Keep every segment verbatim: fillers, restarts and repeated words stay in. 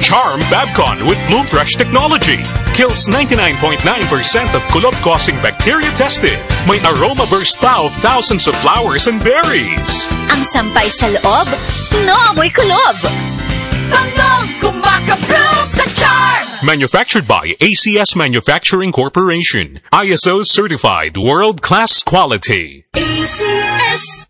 Charm Fabcon with Bloom Fresh technology. Kills ninety-nine point nine percent of kulob-causing bacteria tested. May aroma burst pa of thousands of flowers and berries. Ang sampay sa loob, no amoy kulob. Bangong kumakabloom sa Charm! Manufactured by A C S Manufacturing Corporation. I S O certified world-class quality. A C S.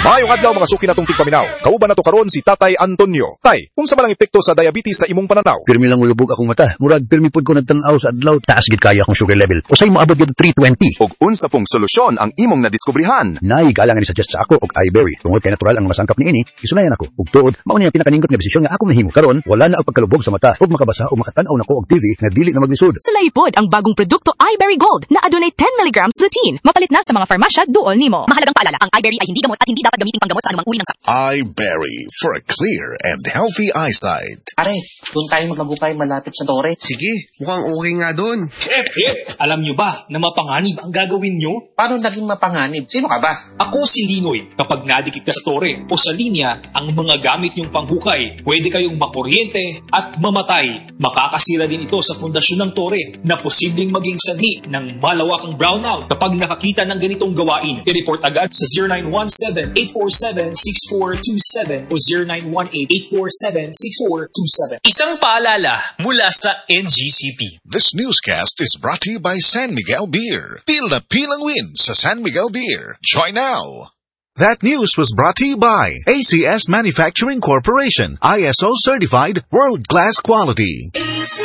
Maayong adlaw, mga suki natong tigpaminaw. Kauban nato karon si Tatay Antonio. Tay, unsa man ang epekto sa diabetes sa imong pananaw? Pirmi lang mulubog akong mata. Murag pirmi pud ko nagtan-aw sa adlaw. Taas gid kaayo akong sugar level. Usay moabot gid three twenty. Og unsa pong solusyon ang imong nadiskubrihan? Naay galang ni suggest sa ako og iBerry. Tungod kay natural ang masangkap niini, gisulayan ako. Ug tuod, mao ni ang pinakaninggot nga desisyon nga akong nahimo. Karon, wala na ang pagkalubog sa mata ug makabasa o makatan-aw nako og T V nga dili na maglisod. Sulayi pod ang bagong produkto iBerry Gold na adunay ten milligrams lutein. Mapalit na sa mga farmasya duol nimo. Mahalagang paalala, ang iBerry ay hindi gamot at hindi dapat gamitin panggamot sa anumang uri ng sakit. iBerry for a clear and healthy eyesight. Pare, doon tayo maglagupay malapit sa tore. Sige, mukhang okay nga doon. Hep, hep! Alam nyo ba na mapanganib ang gagawin nyo? Paano naging mapanganib? Sino ka ba? Ako si Linoy. Kapag nadikit ka sa tore o sa linya ang mga gamit nyong panghukay, pwede kayong makuryente at mamatay. Makakasira din ito sa pundasyon ng tore na posibleng maging sanhi ng malawakang brownout. Kapag nakakita ng ganitong gawain, i-report agad sa zero nine one seven, eight four seven, six four two seven o zero nine one eight, eight four seven, six four two seven. Isang paalala mula sa N G C P. This newscast is brought to you by San Miguel Beer. Feel the pilang win sa San Miguel Beer. Join now. That news was brought to you by A C S Manufacturing Corporation, I S O certified world-class quality. A C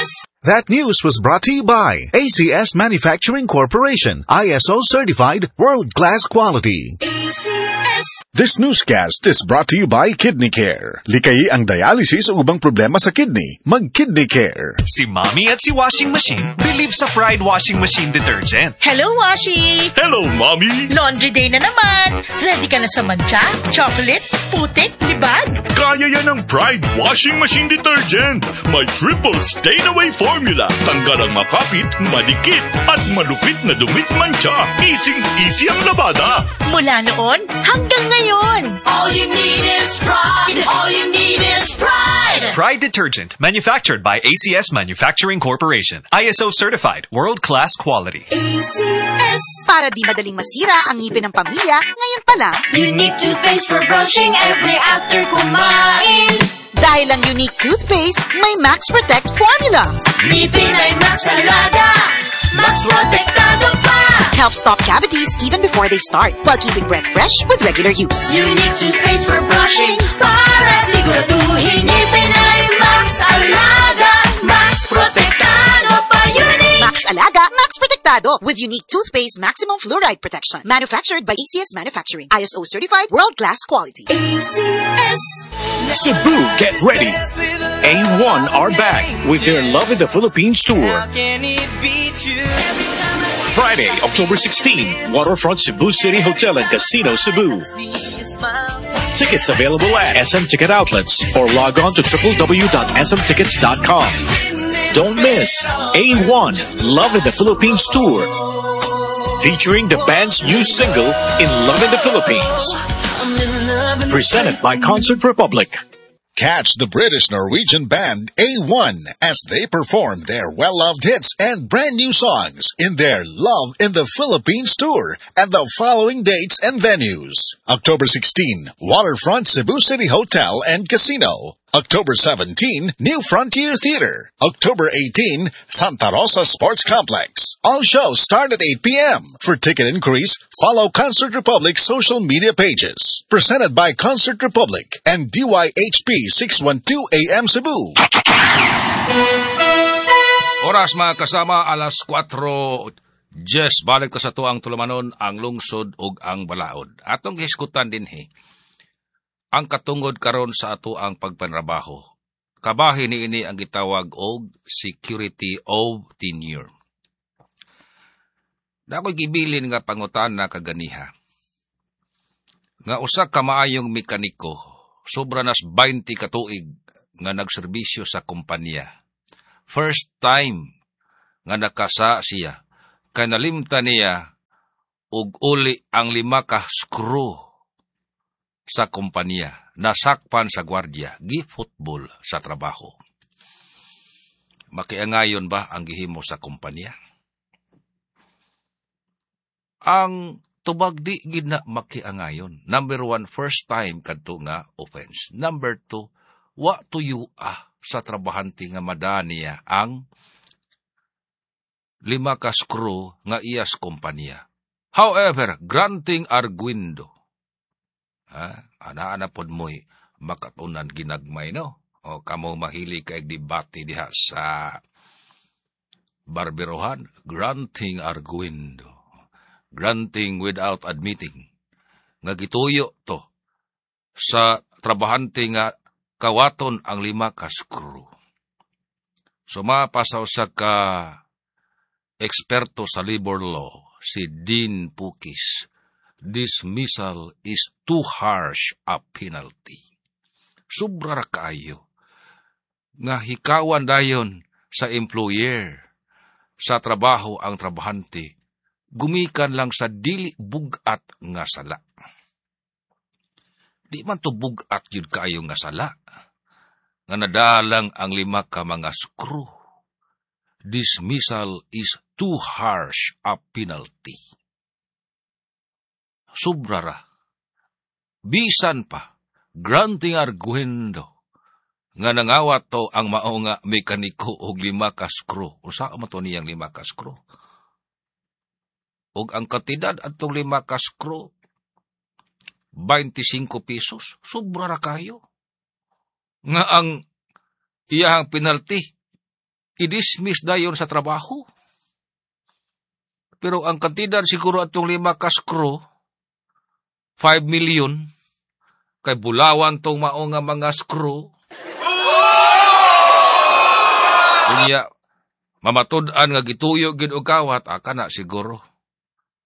S. That news was brought to you by A C S Manufacturing Corporation, I S O certified world-class quality. A C S. This newscast is brought to you by Kidney Care. Likayi ang dialysis o ubang problema sa kidney. Mag-Kidney Care. Si Mommy at si Washing Machine believe sa Pride Washing Machine Detergent. Hello, Washi! Hello, Mommy! Laundry day na naman! Ready ka na sa mantsa, chocolate, putik, libag? Kaya yan ng Pride Washing Machine Detergent. May triple stain-away formula. Tanggal ang makapit, madikit, at malupit na dumi't mantsa. Easy-easy ang labada. Mula noon hanggang ngayon! All you need is Pride. All you need is Pride. Pride Detergent, manufactured by A C S Manufacturing Corporation. I S O certified, world-class quality. A C S. Para di madaling masira ang ngipin ng pamilya, ngayon pa lang, Unique toothpaste for brushing every after kumain. Dahil ang Unique toothpaste, may Max Protect formula. Ngipin ay Max Alaga. Max Protektado pa. Help stop cavities even before they start, while keeping breath fresh with regular use. Unique toothpaste for brushing para siguraduhin ngipin ay Max Alaga. Max Protektado pa. Unique. Max Alaga, Max Protektado with Unique Toothpaste Maximum Fluoride Protection. Manufactured by A C S Manufacturing. I S O certified world-class quality. A C S. Cebu, get ready. A one are back with their Love in the Philippines tour. Friday, October sixteen, Waterfront Cebu City Hotel and Casino, Cebu. Tickets available at S M Ticket Outlets or log on to w w w dot s m tickets dot com. Don't miss A one Love in the Philippines Tour, featuring the band's new single, In Love in the Philippines. Presented by Concert Republic. Catch the British Norwegian band A one as they perform their well-loved hits and brand new songs in their Love in the Philippines tour at the following dates and venues. October sixteen, Waterfront Cebu City Hotel and Casino. October seventeen, New Frontier Theater. October eighteen, Santa Rosa Sports Complex. All shows start at eight p m. For ticket inquiries, follow Concert Republic social media pages. Presented by Concert Republic and D Y H P six twelve A M Cebu. Oras, mga kasama, alas kwatro. Yes, balik ta sa atuang tulumanon, Ang Lungsod ug ang Balaod. Atong gihisgutan dinhi ang katungod karon sa atoang pagpanrabaho. Kabahin niini ang gitawag og security of tenure. Naa ko'y gibilin nga pangutana kaganiha. Nga usa ka maayong mekaniko, sobra nas twenty ka tuig nga nagserbisyo sa kumpanya. First time nga nakasa siya, kay nalimta niya og uli ang lima ka screw sa kumpanya. Nasakpan sa gwardiya, gi-football sa trabaho. Makiangayon ba ang gihimo sa kumpanya? Ang tubag di gid na makiangayon. Number one, first time kadto nga offense. Number two, wa tuyo ah sa trabahante nga madaniya ang lima ka screw nga iyas kumpanya. However, granting arguendo. Ha? Ana-ana pod mo'y makatunan ginagmay, no? O kamo mahilig kay debate diha sa barberohan, granting arguendo. Granting without admitting. Nga gituyo to sa trabahante nga kawaton ang lima ka screw. So mapasaw sa ka eksperto sa labor law, si Dean Pukis, dismissal is too harsh a penalty. Sobra ra kaayo nga hikawan dayon sa employer sa trabaho ang trabahante, gumikan lang sa dili bugat nga sala. Di man to bugat yun kaayo nga sala, nga nadalang ang lima ka mga screw. Dismissal is too harsh a penalty. Sobra ra. Bisan pa, granting arguendo, nga nangawat to ang mao nga mekaniko og lima ka screw. Unsa man to niyang lima ka screw? Og ang kantidad atong lima ka screw, twenty-five pesos. Sobra ra kayo. Nga ang iyahang penalty, i-dismiss dayon sa trabaho. Pero ang kantidad siguro atong lima ka screw, five million, kay bulawan tong mao nga mga screw. Unya, mamatud-an nga gituyo gid og kawat, aka na siguro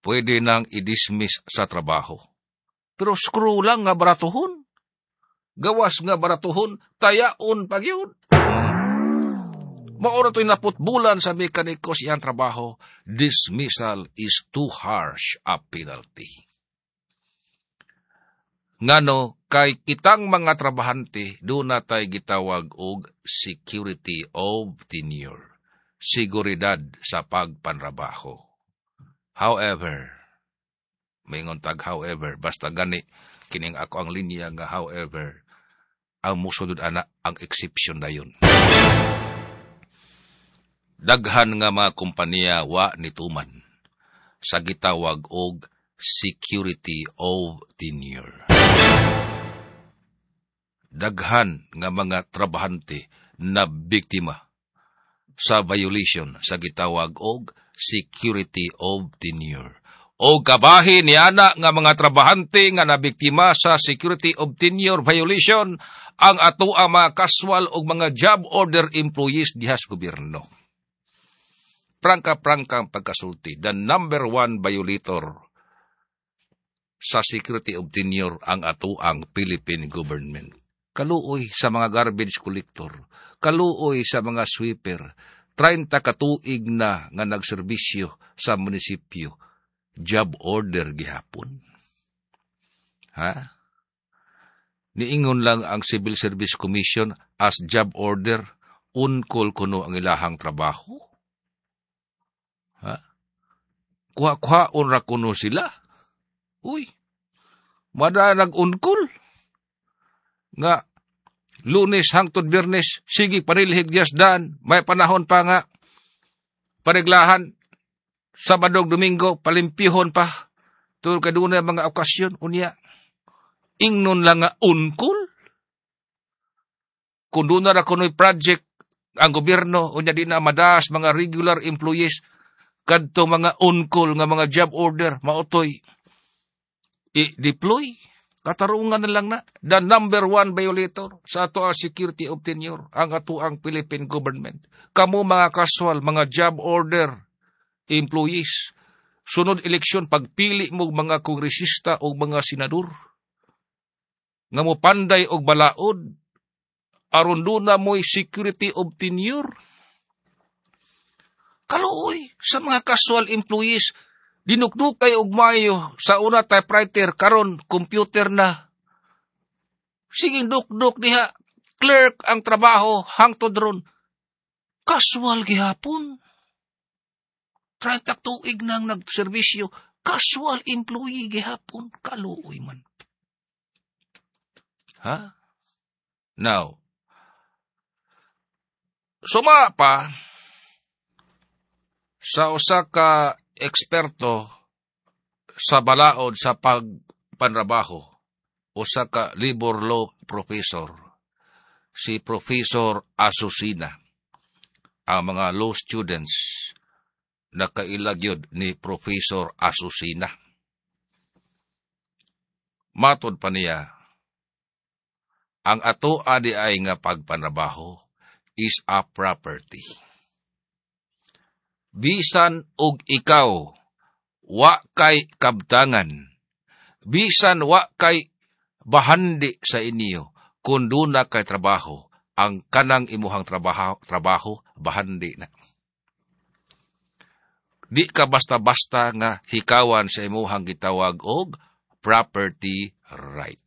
pwede nang i-dismiss sa trabaho. Pero screw lang nga baratuhon. Gawas nga baratuhon, tayaon pag yun. Maura to'y naputbulan sa mekaniko siyang trabaho, dismissal is too harsh a penalty. Ngano, kay kitang mga trabahante, doon na tayo gitawag og security of tenure, seguridad sa pagpanrabaho. However, maingon tag however, basta gani, kining ako ang linya nga however, ang musunod ana ang exception na yun. Daghan nga mga kompanya wa nituman sa gitawag og security of tenure. Daghan nga mga trabahante na biktima sa violation sa gitawag og security of tenure. O kabahin ni ana nga mga trabahante nga nabiktima sa security of tenure violation ang ato ang mga casual og mga job order employees diha sa gobyerno. Prangka-prangka ang pagkasulti, the number one violator sa security of tenure ang ato ang Philippine government. Kaluoy sa mga garbage collector, kaluoy sa mga sweeper, trenta katuig na nga nagserbisyo sa munisipyo, job order gihapon. Ha? Niingon lang ang Civil Service Commission as job order, unkol kuno ang ilahang trabaho. Ha? Kuha-kuhaon ra kuno sila. Uy, mada nag-unkol. Nga, Lunes hangtod Biyernes, sige panilhig diyas dan, may panahon pa nga, paniglahan, Sabado, Domingo, palimpihon pa, tungod kay dunay mga okasyon, unya, ingnon lang nga unkol. Kung doon na kuno'y project, ang gobyerno, unya di na madas, mga regular employees, kadto mga unkol nga mga job order, maotoy, i-deploy. Katarungan na lang na. The number one violator sa ato ang security of tenure, ang ato ang Philippine government. Kamo mga casual, mga job order employees, sunod eleksyon, pagpili mo mga kongresista o mga senador, nga mo panday og balaod, aron doon na mo'y security of tenure. Kaluoy sa mga casual employees, dinukdukay og mayo sa una typewriter, karon computer na. Siging dukduk diha, clerk ang trabaho hangtod ron. Casual gihapon. trenta tuig nang nagserbisyo, casual employee gihapon, kaluoy man. Ha? Now, suma pa sa usa ka eksperto sa balaod sa pagpanrabaho, usa ka labor law professor, si Professor Asusina. Ang mga law students nakaila gyud ni Professor Asusina. Matod pa niya, ang ato adi ay nga pagpanrabaho is a property. Bisan og ikaw wa kay kabtangan, bisan wa kay bahandi sa inyo, kung duna kay trabaho, ang kanang imuhang trabaho, trabaho bahandi na. Di ka basta-basta nga hikawan sa imuhang gitawag og property right,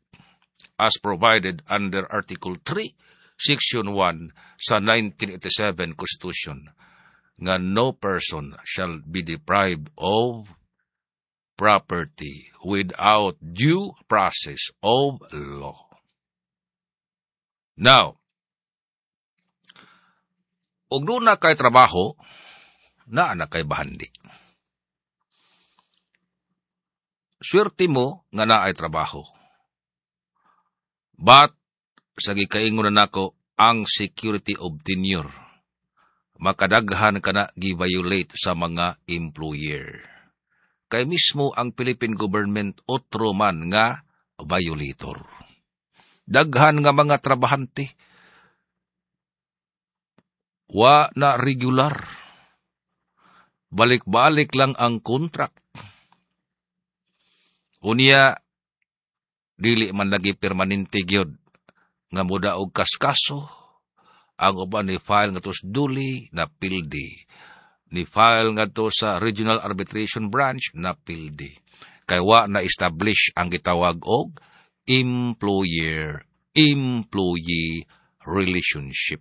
as provided under Article three, Section one sa nineteen eighty-seven Constitution, nga no person shall be deprived of property without due process of law. Now, ug duna kay trabaho, naa na kay bahandi. Swerte mo nga naay trabaho. But, sa gikaingon na nako, ang security of tenure, makadaghan ka na gi-violate sa mga employer. Kay mismo ang Philippine government otro man nga violator. Daghan nga mga trabahante, wa na regular. Balik-balik lang ang contract. Unya, dili man lagi permanente gyud nga mudaog kaskaso. Ang uban ni file ngadto sa duli na pildi. Ni file ngadto sa Regional Arbitration Branch na pildi. Kay wa na establish ang gitawag og employer-employee relationship.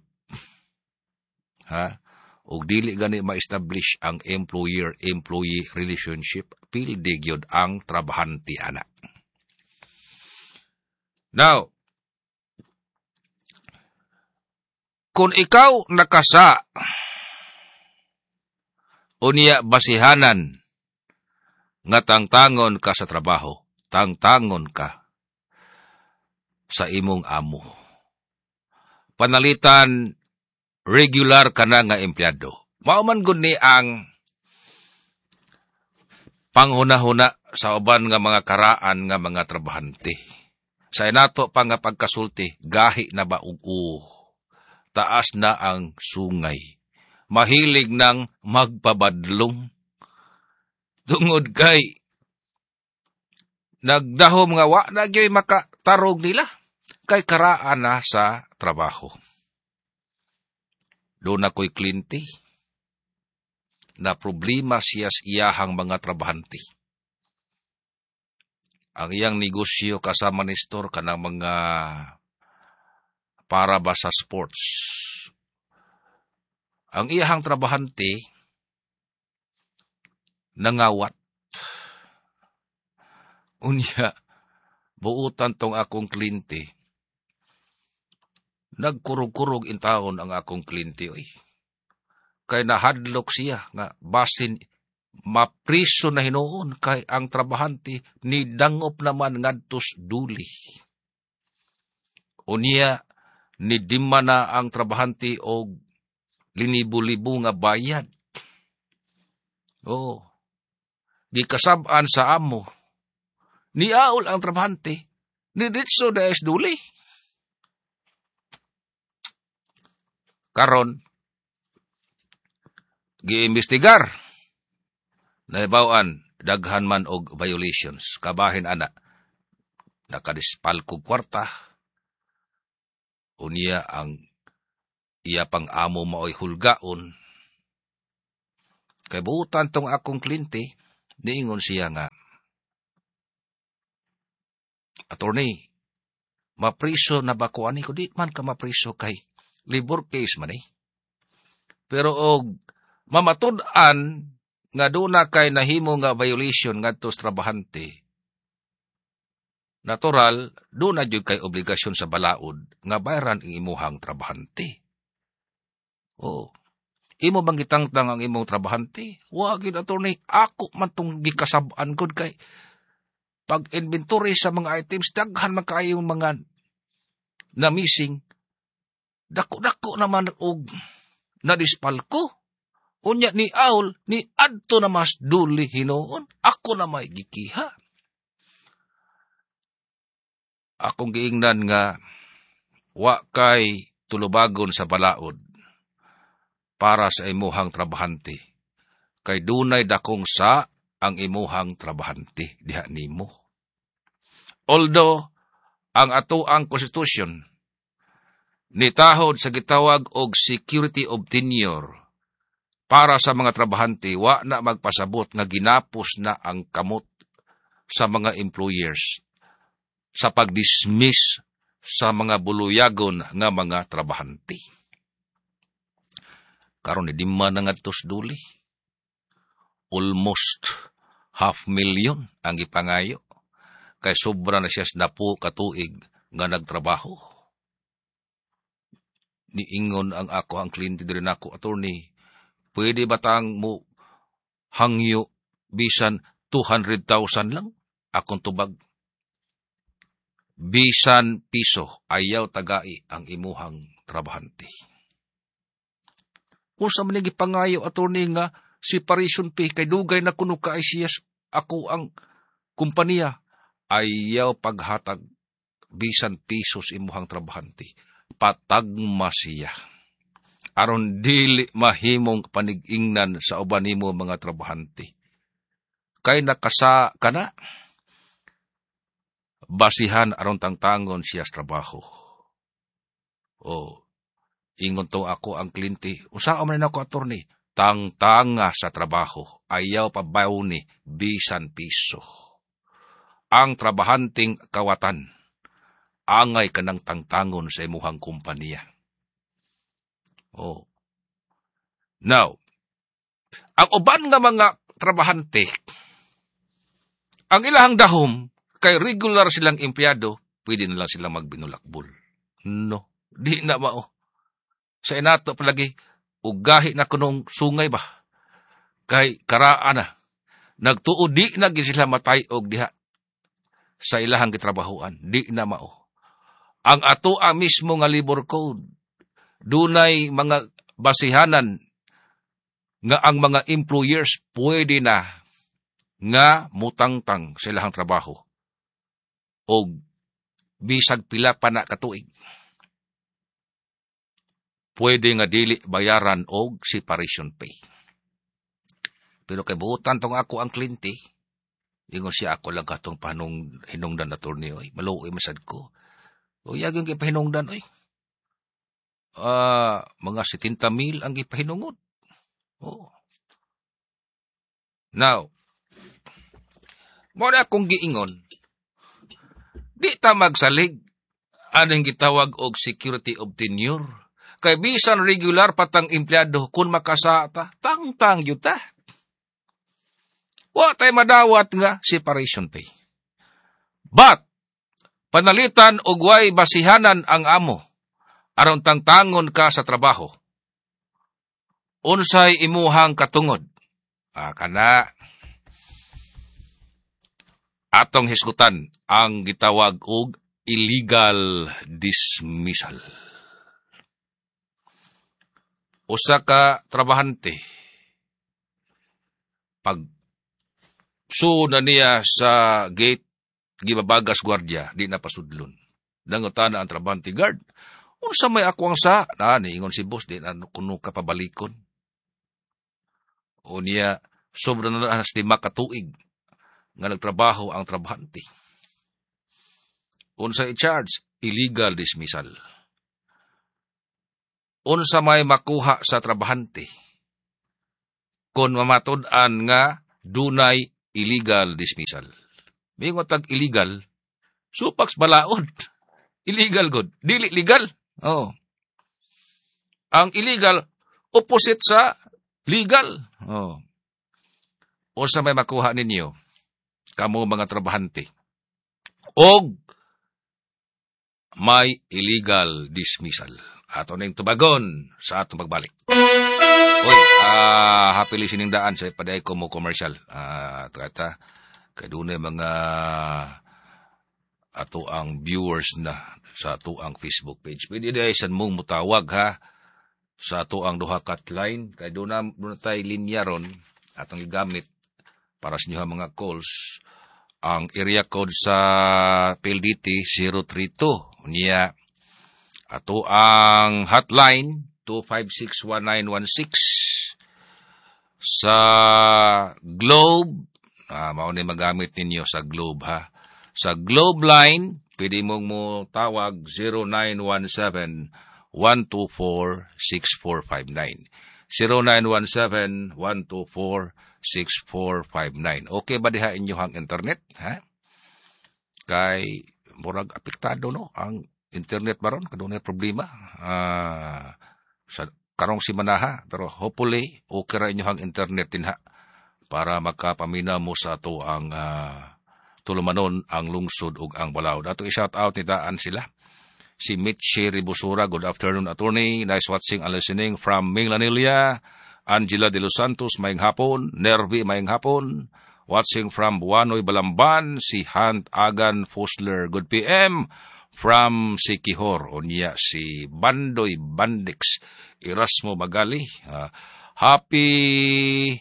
Ha? Og dili gani ma-establish ang employer-employee relationship, pildi gyud ang trabahante ana. Now, kung ikaw nakasa, unya basihanan nga tangtangon ka sa trabaho, tangtangon ka sa imong amo. Panalitan, regular ka na nga empleyado. Mao man gud ni ang panghuna-huna sa uban nga mga karaan nga mga trabahante. Sa inato pa nga pagkasulti, gahi na ba ug uo, taas na ang sungay. Mahilig nang magpabadlong. Tungod kay nagdahom nga wa na gyoy makatarog nila kay karaan na sa trabaho. Doon ako'y klinti na problema siya sa iyahang mga trabahante. Ang iyang negosyo kasama ni store kanang mga para ba sa sports. Ang iyahang trabahante nangawat. Unya, buutan tong akong klinti. Nagkurog-kurog in taon ang akong klinti. Oy. Kay nahadlok siya nga basin mapriso na hinuon kay ang trabahante ni dangop naman ngadtos duli. Unya, ni dimma na ang trabahante og linibo-libo nga bayad. Oh, gikasab-an sa amo. Niaol ang trabahante, ni ditso daes duli. Karon, giimbestigar. Naibawan, daghan man og violations. Kabahin ana, nakadispalkog kwarta. Unya ang iya pang amo maoy hulgaon. Kay buutan tong akong klinte, niingon siya nga, attorney, Mapriso na ba ko ani ko? Di man ka mapriso kay labor case man eh. Pero og mamatud-an nga duna kay nahimo nga violation ngadto sa trabahante, natural, duna jud kay obligasyon sa balaod nga bayaran ang imuhang trabahante. Oo. Imo bang gitangtang ang imong trabahante? Wa gid, attorney, ako man tong gikasab-an gud kay pag inventory sa mga items, daghan man kaayong mga na missing. Dako-dako naman og nadispalko. Unya ni Aul, ni adto na mas duli hinuon, ako na may gikiha. Akong giingnan nga wa kay tulubagon sa balaod para sa imuhang trabahante. Kay dunay dakong sa ang imuhang trabahante diha nimo. Although, ang ato ang konstitusyon nitahod sa gitawag og security of tenure para sa mga trabahante, wa na magpasabot nga ginapos na ang kamot sa mga employers sa pag-dismiss sa mga buluyagon nga mga trabahante. Karon ni dimma na ngadto sa duli. Almost half million ang gipangayo. Kay sobra na siya sa napo katuig nga nagtrabaho. Niingon ang ako ang kliyente diri nako, "Attorney, pwede ba tang mo hangyo bisan two hundred thousand lang?" Akong tubag, bisan piso, ayaw tagai ang imuhang trabahante. Kung sa man gipangayo, attorney, nga separation pay kay dugay na kuno ka siya ako ang kumpanya, ayaw paghatag bisan pisos imuhang trabahante. Patagma siya. Aron dili mahimong panigingnan sa uban nimo mga trabahante. Kay nakasa kana basihan aron tangtangon siya sa trabaho. O, ingon to ako ang kliyente, "Unsa man ako, attorney?" Tangtanga sa trabaho, ayaw pabayoni bisan piso. Ang trabahanting kawatan, angay kanang tangtangon sa imuhang kumpanya. Oh. Now, ang uban nga mga trabahante, ang ilahang dahom, kay regular silang empleyado, pwede na lang silang magbinulakbol. No, di na mao. Sa inato palagi, ugahi na kunong sungay ba? Kay karaan na. Nagtuo di na gid sila matay og diha sa ilahang gitrabahoan. Di na mao. Ang ato ang mismo nga labor code, dunay mga basihanan nga ang mga employers pwede na nga mutangtang sa ilahang trabaho og bisag pila pa na katuig. Pwede nga dili bayaran og separation pay. Pero kay buutan tong ako ang kliyente, ingon siya, "Ako lang katong panong hinungdan, attorney, oy. Maluoy masad ko." O yag yung gipahinungdan, oy. Ah, mga seventy mil ang gipahinungod. Oh. Now, mo na akong giingon, di ta magsalig aning gitawag og security of tenure. Kay bisan regular patang empleyado, kung makasata, tangtang yun ta. Wa tay madawat nga separation pay. But, panalitan og way basihanan ang amo, aron tangtangon ka sa trabaho. Unsay imuhang katungod? Ah, kana atong hisgutan ang gitawag og illegal dismissal. Usa ka trabahante, pag na niya sa gate, gibabagas gwardiya, di na pasudlon. Nangutana ang trabahante, "Guard, unsa may ako ang sa?" Na, niingon si boss, "Di na kuno ka pabalikon." O niya, sobra na na lima ka tuig nga nagtrabaho ang trabahante. Unsa i-charge? Illegal dismissal. Unsa may makuha sa trabahante kung mamatud-an nga dunay illegal dismissal? Mingon tag illegal, supaks balaod. Illegal good. Dili legal. Oh. Ang illegal opposite sa legal. Oh. Unsa may makuha ninyo kamo mga trabahante og may illegal dismissal? Ato ning tubagon sa atong pagbalik. Uy, ah, happy listening daan sa paday ko mo commercial. Ah, uh, kay dunay mga ato ang viewers na sa ato ang Facebook page. Pwede diay san mong mutawag ha sa ato ang duha ka line kay duna duna tay linya ron atong gigamit para sa inyo mga calls. Ang area code sa P L D T zero three two. Unya ato ang hotline two five six one nine one six. Sa Globe, ah, mao ni magamit ninyo sa Globe ha. Sa Globe line, pwede mong mo tawag zero nine one seven, one two four, six four five nine. zero nine one seven, one two four, six four five nine. Okay ba diha inyohang internet, ha? Kay murag apektado no ang internet baron kadunay problema. Ah, sa karong simanaha, pero hopefully okay ra inyohang internet dinha para makapaminaw mo sa ato ang uh, tulumanon, Ang Lungsod ug ang Balaod. Ato i-shout out ni daan sila. Si Mitchie Ribusura, good afternoon, attorney. Nice watching and listening from Minglanilla. Angela de los Santos, maayong hapon. Nervi, maayong hapon. Watching from Buanoy, Balamban, si Hunt Agan Fosler, good P M from Siquijor. Unya si Bandoy Bandix, Erasmo Magali. Uh, happy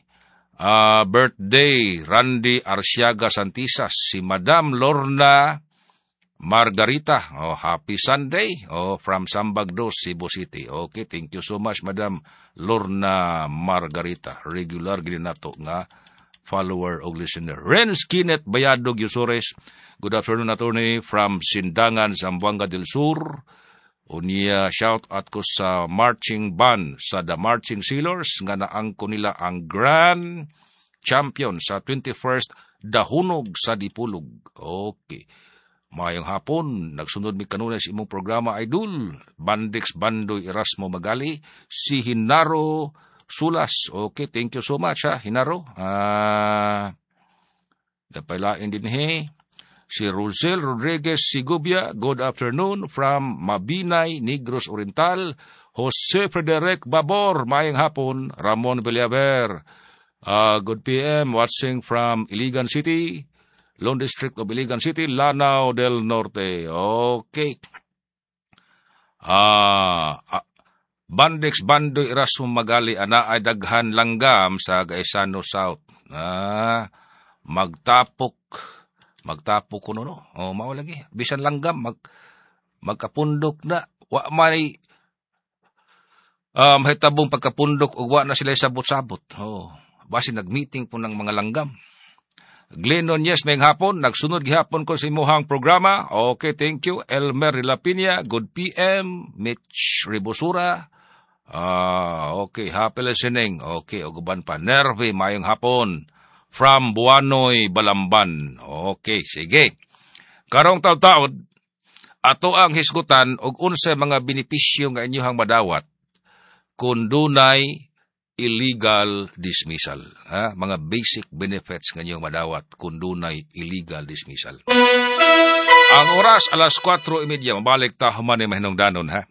uh, birthday, Randy Arciaga Santisas, si Madam Lorna Margarita. Oh, happy Sunday. Oh, from Sambag Dos, Cebu City. Okay, thank you so much, Madam Lorna Margarita. Regular gid nato nga follower o listener. Renz Kinet Bayadog Yusores. Good afternoon, attorney, from Sindangan, Zamboanga del Sur. Unya, shout out ko sa marching band sa The Marching Sailors nga naangko nila ang Grand Champion sa twenty-first Dahunog sa Dipulog. Okay. Maayong hapon, nagsunod mi kanunay sa imong programa, idol. Bandix Bandoy Erasmo Magali, si Hinaro Sulas. Okay, thank you so much ha, Hinaro. Ah, uh, din he. Si Rosel Rodriguez Sigubia, good afternoon from Mabinay, Negros Oriental. Jose Frederic Babor, maayong hapon. Ramon Villaver, uh, good P M, watching from Iligan City. Lone District of Iligan City, Lanao del Norte. Okay. Ah, uh, Bandix Bandoy Erasmo Magali, ana ay daghan langgam sa Gaisano South. Ah, magtapok magtapok kuno no. Oh, mao lagi. Bisan langgam mag magkapundok na wa may um hitabong pagkapundok ug wa na sila sabot-sabot. Oh, basi nagmeeting po ng mga langgam. Glenn Nunez, maayong hapon. Nagsunod gihapon ko sa imuhang programa. Okay, thank you. Elmer Rilapinia, good P M. Mitch Ribosura. Ah, okay, happy listening. Okay, ug uban pa. Nervi, maayong hapon. From Buanoy, Balamban. Okay, sige. Karong taud-taud, ato ang hisgutan og unsa mga benepisyo nga inyohang madawat kung dunay illegal dismissal. Ha? Mga basic benefits nga inyong madawat kung dunay illegal dismissal. Ang oras, alas kwatro y medya. Mabalik ta human ni mahinungdanon ha.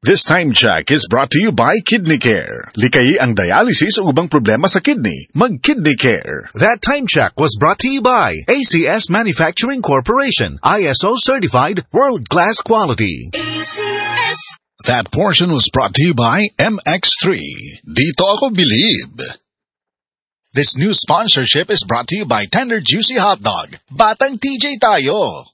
This time check is brought to you by Kidney Care. Likayi ang dialysis o ubang problema sa kidney. Mag-Kidney Care. That time check was brought to you by A C S Manufacturing Corporation. I S O certified, world-class quality. A C S. That portion was brought to you by M X three. Dito ako believe. This new sponsorship is brought to you by Tender Juicy Hot Dog. Batang T J tayo.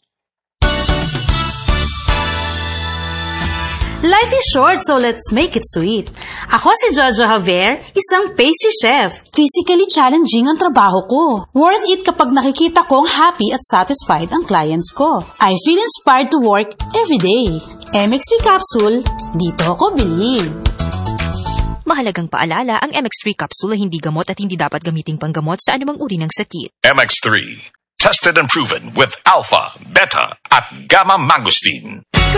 Life is short, so let's make it sweet. Ako si Jojo Javier, isang pastry chef. Physically challenging ang trabaho ko. Worth it kapag nakikita kong happy at satisfied ang clients ko. I feel inspired to work every day. M X three Capsule, dito ako believe. Mahalagang paalala, ang M X three capsule ay hindi gamot at hindi dapat gamiting panggamot sa anumang uri ng sakit. M X three. Tested and proven with alpha, beta, at gamma mangosteen.